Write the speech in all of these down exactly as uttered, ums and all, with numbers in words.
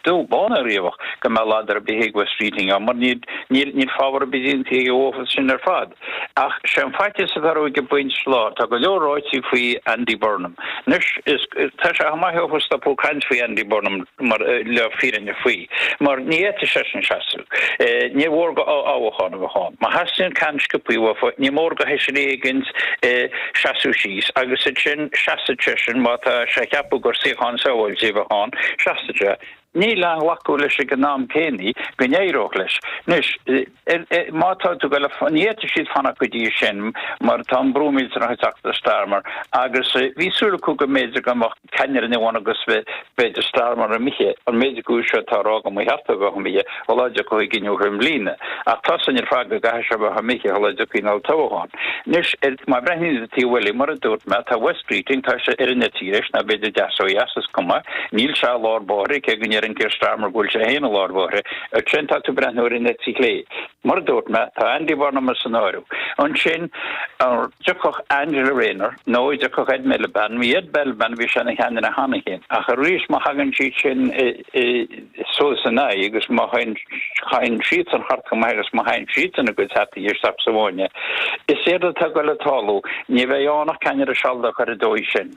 Dubh bán ariamh go mbeadh ladar ar bith ag Wes Streeting mar níl níl fabhar ar bith déanta aige sin ar fad. Ach sé an faitíos atá ag an bpointe lá tá go leor ráite faoi Andy Burnham. Anois tá sé maith ó stop caint faoi Andy Burnham mar le fírinne faoi. Mar ní fhéadfaidh seisean seasamh. Ní mór go toghchán a bheith ann. Má theastaíonn ceann sciobtha ní mór go feisire éigin seasamh síos agus sin seasfaidh seisean má tá sé ag ceapadh gur suíochán sábháilte a bheith ann seasfaidh sé. Níl aon ghlacadh leis ag an am céanna go n-éireodh leis. Anois, má tá tú go ní fhéadfaidh siad fanacht go dtí sin mar tá an brú millteanach ag teacht ar Starmer agus bhí súil acu go mb'fhéidir go mbeadh ceannaire nua ann agus b'fhéidir Starmer imithe an méid acu seo atá ag rá go mba cheart dó a bheith imithe shula dtiocfaidh an i mbliana. Ach tá san ar fad go gcaithfidh sé a bheith imithe shula dtiocfaidh an toghchán. Anois, má bhreathnaíonn tú taobh eile, mar a dúirt mé, tá Wes Streeting, tá sé ar an eite dheis nó b'fhéidir deas ó dheas is cuma, níl sé i lár báire cé go ndeireann Keir Starmer go bhfuil sé féin i lár báire. Ansin tá tú ag breathnú ar an eite chlé. Mar a dúirt mé, tá Andy Burnham san áireamh. Ansin an dtiocfadh Angela Rayner nó an dtiocfadh Ed Miliband, bhí Ed Miliband bhí sé ina cheannaire cheana féin. Ach arís má thagann siad sin suas ina aghaidh agus má chailleann siadsan thart go maith agus má thagann siadsan a gcuid hataí isteach sa bhfáinne, is éard atá ag dul a tarlú, ní bheidh ann ach ceannaire sealadach ar an dóigh sin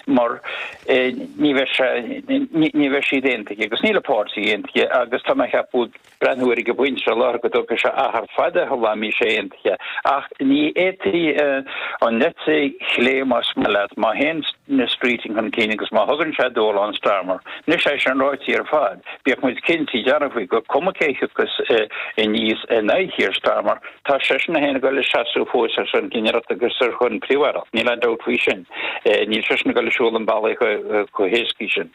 mar ní bheidh sé, ní bheidh siad aontaithe agus níl an páirtí aontaithe agus tá mé ag ceapadh breathnú air ag an bpointe seo láithreach go dtógfaidh sé achar fada shula mbeidh sé aontaithe ach ní fhéadfaidh an eite chlé más maith leat má théann Streeting chun cinn agus má thugann sé dúshlán Starmer. Anois é sin ráite ar fad, bíodh muid cinnte dearfa faoi gur cuma cé thiocfas aníos in aghaidh Keir Starmer, tá seisean féin ag dul ag seasamh fós ar son ceannaireacht agus ar son príomh-aireacht. Níl aon dabht faoi sin. Níl seisean ag dul ag siúl an bealaigh chomh héascaí sin.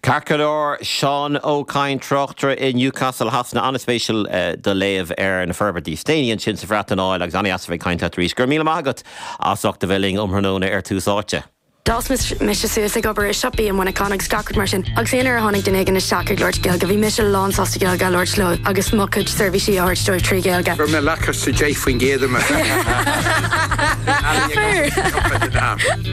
Ceart go leor, Seán Ó Cadhain, tráchtaire i Newcastle Shasana, an-spéisiúil do léamh ar na forbairtí is déanaí ansin sa Bhreatain Áil agus an-dheas a bheith ag caint leat arís. Go raibh míle maith agat as ucht a bheith linn um thráthnóna ar Tús Áite. D'fhás mise suas ag obair i siopaí i Muineachán agus gach rud mar sin. Agus aon uair a tháinig duine éigin isteach ag labhairt Gaeilge, bhí mise lánsásta Gaeilge a labhairt leo agus mo chuid seirbhísí a thabhairt dóibh trí Ghaeilge. Gur mé leachas deich faoin gcéad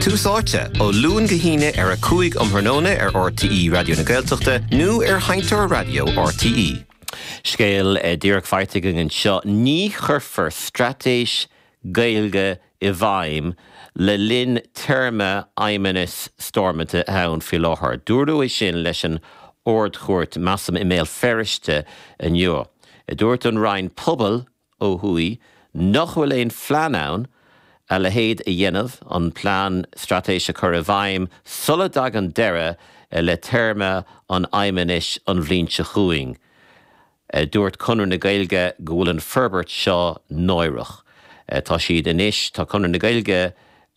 Tús Áite ó Luan go hAoine ar a cúig um thráthnóna ar RTÉ Raidió na Gaeltachta nó ar Sheinnteoir Raidió RTÉ. Scéal díreach faighte againn anseo ní chuirfear straitéis Gaeilge i bhfeidhm le linn téarma fheidhmeannas Stormont ann faoi láthair. Dúradh é sin leis an Ard-Chúirt measaim i mBéal Feirste inniu. Dúirt an Roinn Pobal ó thuaidh nach bhfuil aon phlean ann a leithéid a dhéanamh an plean straitéise chur i bhfeidhm sula dtagann deireadh le téarma an fheidhmeannais an bhliain seo chugainn. Dúirt Conradh na Gaeilge go bhfuil an forbairt seo náireach. Tá siad anois tá Conradh na Gaeilge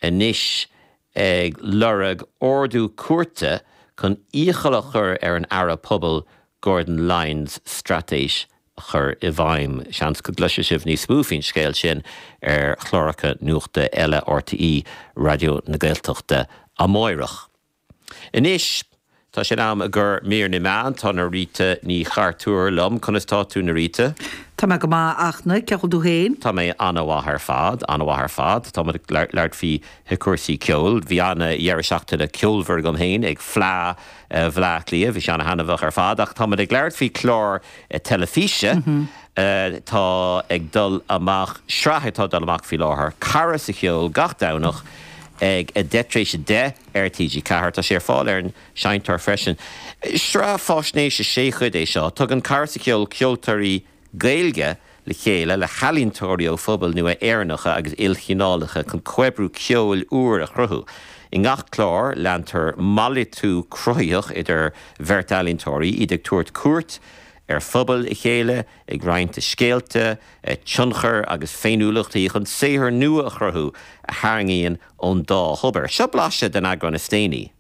anois ag lorg ordú cúirte chun iachall a chur ar an Aire Pobal Gordon Lyons straitéis a chur i bhfeidhm. Seans go gcloisfidh sibh níos mó faoin scéal sin ar chláracha nuachta eile RTÉ Raidió na Gaeltachta amárach. Anois Tá sé in am do mhír na meán tá Norita Ní Chartúir liom conas tá tú Norita? Tá mé go maith achna ce tú féin? Tá mé an-mhaith ar fad an-mhaith ar fad Tá labhairt faoi chúrsaí ceoil, Bhí an-deireadh seachtaine ceolmhar agam féin ag Fleadh Bhaile Átha Cliath, bhí sé an-thaitneamhach ar fad ach tá ag labhairt faoi chlár teilifíse mm -hmm. Tá ag dul amach sraith atá dul amach faoi láthair, Cara sa Cheol gach Domhnach ag a deich tar éis a deich ar TG Ceathair tá sé ar fáil ar an seinnteoir freisin. Sraith faisnéise sé chuid é seo, tugann Cara sa Cheol ceoltóirí Gaeilge le chéile le healaíontóirí ó phobail nua Éireannacha agus ilchineálacha chun comhoibriú ceoil úr a chruthú. I ngach clár leantar malartú cruthaitheach idir bheirt ealaíontóirí iad ag tabhairt cuairt ar phobail a chéile ag roinnt a scéalta, tionchar agus féiniúlachtaí chun saothar nua a chruthú a tharraingíonn ón dá thobar. Seo blaiseadh den eagrán is déanaí.